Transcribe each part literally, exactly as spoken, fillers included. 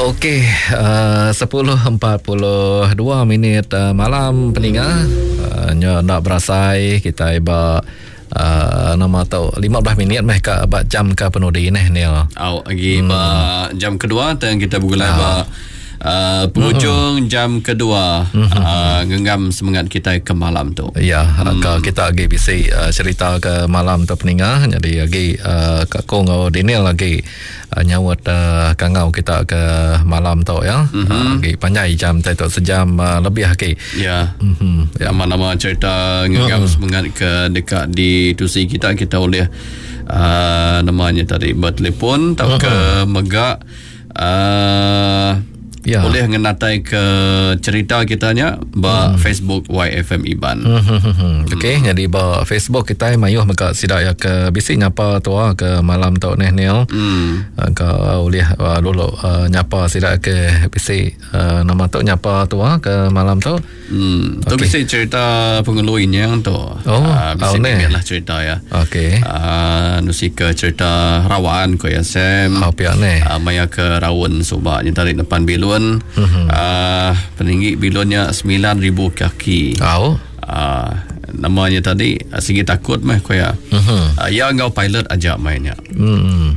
Okey, uh, sepuluh empat puluh dua minit uh, malam peninga. Uh, nya nak berasai kita ba uh, nama tu lima belas minit meh ka ba jam ke penudi neh Neil. Au lagi hmm. ba jam kedua tang kita bergulai ah. ba Uh, penghujung hmm. jam kedua hmm. uh, genggam semangat kita ke malam tu. Ya, hmm. ke kita lagi bisi uh, cerita ke malam tu peninga. Jadi lagi uh, Kak Kong ngau Daniel lagi uh, nyaut uh, kangau kita ke malam tu ya. Mm-hmm. Uh, lagi panjai jam tu sejam uh, lebih lagi. Ya. Mm-hmm. Ya. Nama-nama cerita genggam hmm. semangat ke dekat di tusi kita kita boleh uh, namanya tadi bertelefon atau hmm. ke megak uh, ya. Boleh ngenatai ke cerita kitanya ba hmm. Facebook Y F M Iban. Hmm, hmm, hmm, hmm. Okey, hmm. jadi ba Facebook kita mayuh mega sidak ya ke bisi nyapa tua ke malam tu neh Neil. Hmm. Ke boleh uh, lulu uh, nyapa sidak ke bisi uh, nama tu nyapa tua ke malam tu. Hmm. Tu okay. Bisi cerita pengeluin yang tu. Oh, uh, bisi oh, lah cerita ya. Okey. Uh, nusi ke cerita rawaan ko ya Sam. Oh, pia neh. Uh, maya ke rawun subak nyetarik depan bilun. Mm-hmm. Uh, peninggi bilonnya sembilan ribu kaki. Oh. Uh, namanya tadi segi takut meh ko ya. Mm-hmm. Uh, ya ngau pilot aja mainnya. Mm.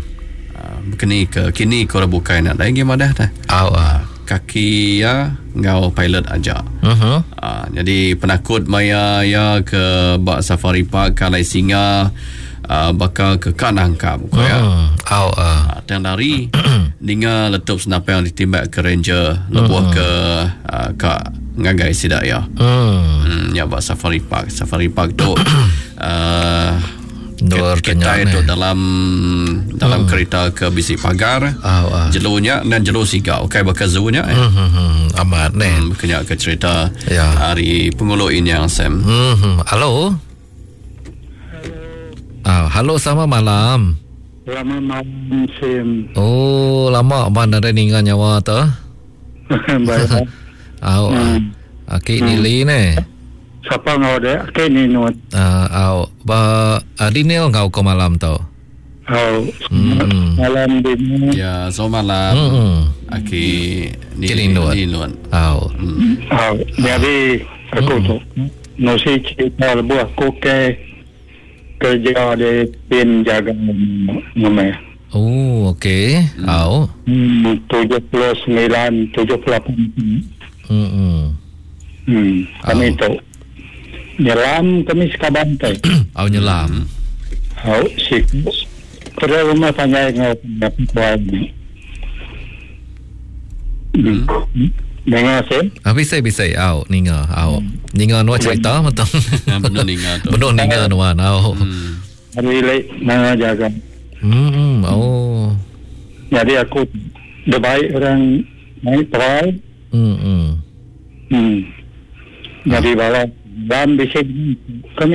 Uh, kini ke kini ko bukai nak lagi madah dah. Oh. Uh, kaki ya ngau pilot aja. Mm-hmm. Uh, jadi penakut maya ya ke bak safari park kalai singa uh, bakal ke kanangkap ko ya. Mm. Oh. Uh. Uh, tang lari ninga letup senapang ditimbak ke ranger lebuh mm. ke uh, ka ngagai sidak ya. Mm. Hmm, ya bak safari park. Safari park tu uh, kita itu dalam dalam mm. kereta ke bisi pagar. Oh, uh. Jelunya dan jelu siga. Okey bakal zunya eh. Mm, hmm, hmm. Amat ne. Hmm, kena ke cerita ya. Hari pengulu ini yang Sam. Hmm, hmm. Halo. Ah, halo sama malam. Lama malam Sim. Oh, lama mana ada ninga nyawa tu. Baik. Au. Hmm. Aki hmm. Nili ne. Siapa ngau de? Aki ni nuat. Ah, au. Ba Adinil ngau ke malam tu. Au. Hmm. Malam di. Ya, so malam. Hmm. Aki ni ni nuat. Au. Hmm. Au. Jadi aku hmm. tu. Nosi cerita lebuh aku ke kerja di pin jaga nama. Oh, okey. Hmm. Au. Hmm, tujuh puluh sembilan, tujuh puluh lapan. Hmm. Hmm, kami tu nyelam kami sekaban teh. Au nyelam. Au, si. Kerja rumah panjang ngau puan. Hmm. Dengar sih? Ah, bisa bisa au ninga au. Ninga nuan cerita betul. Benar ninga tu. Benar ninga nuan au. Hmm. Hari lek nanga jaga. Hmm, oh. Jadi aku dah baik orang naik perai. Hmm. Hmm. Jadi bala dalam bisik kami